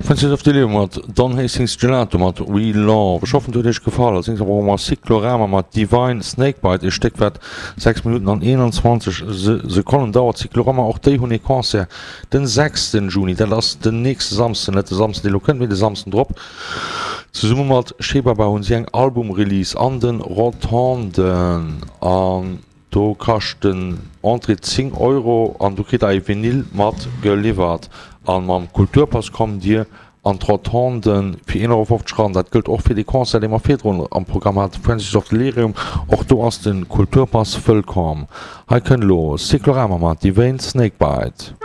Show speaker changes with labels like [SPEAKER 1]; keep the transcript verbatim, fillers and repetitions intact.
[SPEAKER 1] Francis of Delirium mat Don Hastings Gelato mat We Love. Ech hoffen et huet iech gefall. Als nächst brauche mer Cyclorama mat Divine Snakebite, e Stéck wat sechs Minutten an eenanzwanzeg Sekonnen dauert. Cyclorama, och déi hunn ee Concert den sechsten Juni, dat ass den nächste Samsden, net de Samsden dee lo kënnt, mee de Samsden drop. Zesumme mat Shebaba hunn si eng Album-Release an de Rotonden an do kascht den Entrée zéng Euro an do kritt der ee Vinyl mat geliwwert. An mam Kulturpass kommt dir an d'Rotonden fir een Euro fofzeg eran. Dat gëllt och fir dee Concert, dee mer virdrun am Programm haten, Francis of Delirium. Och do ass de Kulturpass wëllkomm. Hei kënnt elo Cyclorama mat Divane Snakebite.